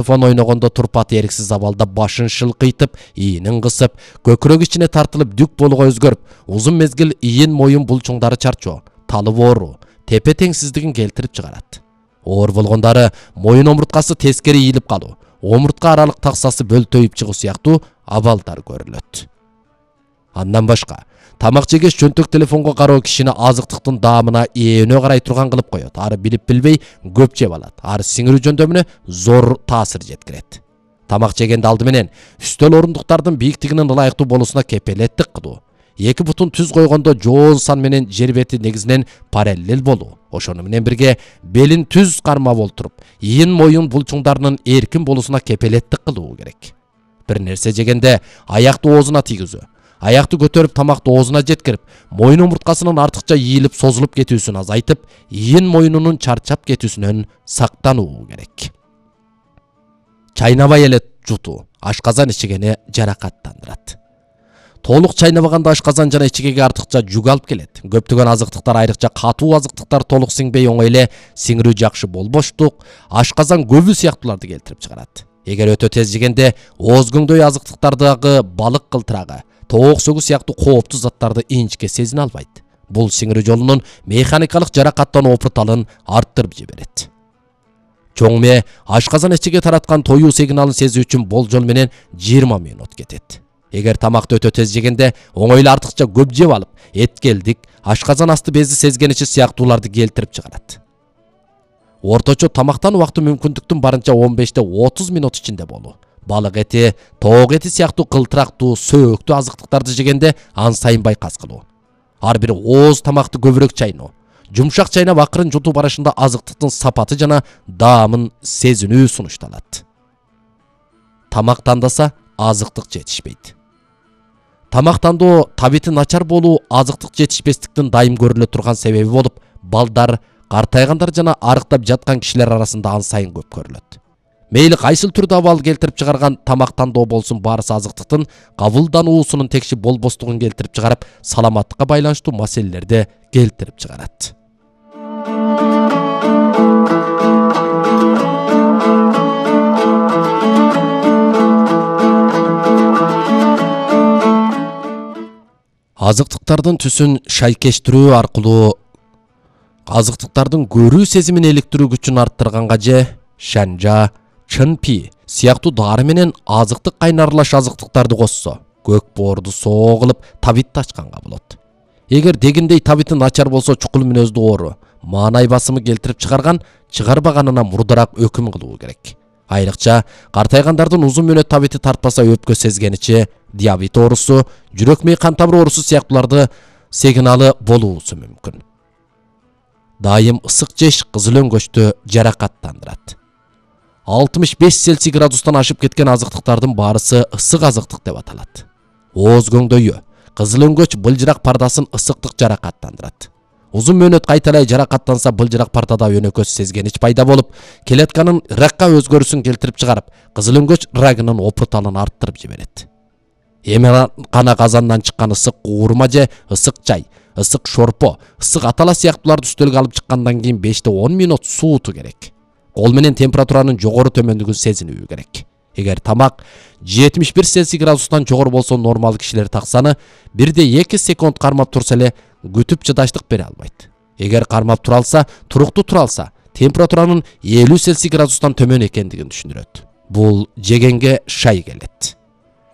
Телефон ойногондо турпат эриксиз абалда башын шылкыйтып, ийинин кысып, көкүрөк ичине тартылып дүк болуга өзгөрүп, uzun мезгил ийин моюн булчуңдары чарчоо, талып оору, тепе теңсиздигин келтирип чыгарат. Оор болгондары моюн омурткасы тескери ийилип калуу, омуртка аралык таксасы бөлтөйүп чыгуу сыяктуу абалдар көрүлөт. Андан башка, тамак жегеш жөнтөк телефонго кароо кишини азыктыктын даамына эөнө карай турган кылып коёт. Ары билип билбей көп жеп алат. Ары сиңирүү жөндөмүнө зор таасир жеткирет. Тамак жегенде алды менен үстөл орундуктардын бийиктигинин ылайыктуу болуусуна кепелеттик кылуу. Эки бутун түз койгондо жоон сан менен жер бети негизинен параллел болуу. Ошону менен бирге белин түз кармап олтуруп, ийин моюн булчуңдарынын эркин болуусуна кепелеттик кылуу керек. Бир нерсе жегенде аякты оозуна тийгизүү. Аякты көтөрүп тамакты оозуна жеткирип, моюн омурткасынын артыкча ийилип созулуп кетүүсүн азайтып, ийин моюнунун чарчап кетүүсүнөн сактануу керек. Чайнабай эле жутуу, ашказан ичигени жаракаттандырат. Толук чайнабаганда ашказан жана ичигеге артыкча жүк алып келет. Көптөгөн азыктыктар, айрыкча катуу азыктыктар толук сиңбей оңой эле сиңирүү жакшы болбоштук, ашказан көбү сыяктууларды келтирип чыгарат. Эгер өтө тез жегенде ооз көңдөй азыктыктардагы балык кылтырагы, тоок сөгү сыяктуу кооптуу заттарды инчке сезине албайт. Бул сиңирүү жолунун механикалык жаракаттануу опурталын арттырып жиберет. Чоң мээ ашказан ичиге тараткан тоюу сигналын сезүү үчүн болжол менен 20 мүнөт кетет. Эгер тамакты өтө тез жегенде оңой эле артыкча көп жеп алып, эткелдик, ашказан асты бези сезгеничи сыяктууларды келтирип чыгарат. Орточо тамактан убакты мүмкүндүктүн барынча 15-30 мүнөт ичинде болуу. Балык эти, тоок эти сыяктуу кылтырактуу, сөөктүү азыктыктарды жегенде ан сайын байкас кылуу. Ар бир ооз тамакты көбүрөөк чайноо. Жумшак чайнап акырын жутуу барышында азыктыктын сапаты жана даамын сезинүү сунушталат. Тамак тандаса азыктык жетишпейт. Тамактандоо табити начар болуу азыктык жетишпестиктин дайым көрүлө турган себеби болуп, балдар, картайгандар жана арыктап жаткан кишилер арасында ан сайын көп көрүлөт. Мейли кайсыл түрдө абал келтирип чыгарган тамактандоо болсун, баарысы азыктыктын кабылдануусунун текши болбостугун келтирип чыгарып, саламаттыкка байланыштуу маселелерди келтирип чыгарат. Азыктыктардын түсүн шайкештирүү аркылуу азыктыктардын көрүү сезимин иликтирүү күчүн арттырганга же шанжа, чынпи сыяктуу дары менен азыктык кайнарлаш азыктыктарды кошсо, көк боорду соо кылып табитти ачканга болот. Эгер дегиндей табити начар болсо, чукул мүнөздүү оору, маанай басымы келтирип чыгарган, чыгарбаганына мурдараак өкүм кылуу керек. Айрыкча картайгандардын узун мүнөт табити тартпаса, өпкө сезгеничи, диабет оорусу, жүрөк мээ кан тамыр оорусу сыяктууларды сигналы болуусу мүмкүн. Дайым ысык жеш кызыл өңгөчтү жаракаттандырат. 65 Цельсий градустан ашып кеткен азыктыктардын баарысы ысык азыктык деп аталат. Ооз көңдөйү, кызыл өңгөч былжырак пардасын ысыктык жаракаттандырат. Узун мөөнөт кайталай жаракаттанса, былжырак пардада өнөкөс сезгенич пайда болуп, клетканын ракка өзгөрүүсүн келтирип чыгарып, кызыл өңгөч рагынын опурталын арттырып жиберет. Эметкана казандан чыккан ысык куурма же ысык чай, ысык шорпо, ысык атала сыяктууларды үстөлгө алып чыккандан кийин 5-10 мүнөт сууту керек. Кол менен температуранын жогору төмөндүгүн сезинүү керек. Эгер тамак 71 Цельсий градустан жогору болсо, нормал кишилер таксаны 1-2 секунд кармап турса эле күтүп чыдаштык бере албайт. Эгер кармап тура алса, туруктуу тура алса, температуранын 50 Цельсий градустан төмөн экендигин түшүндүрөт. Бул жегенге шай келет.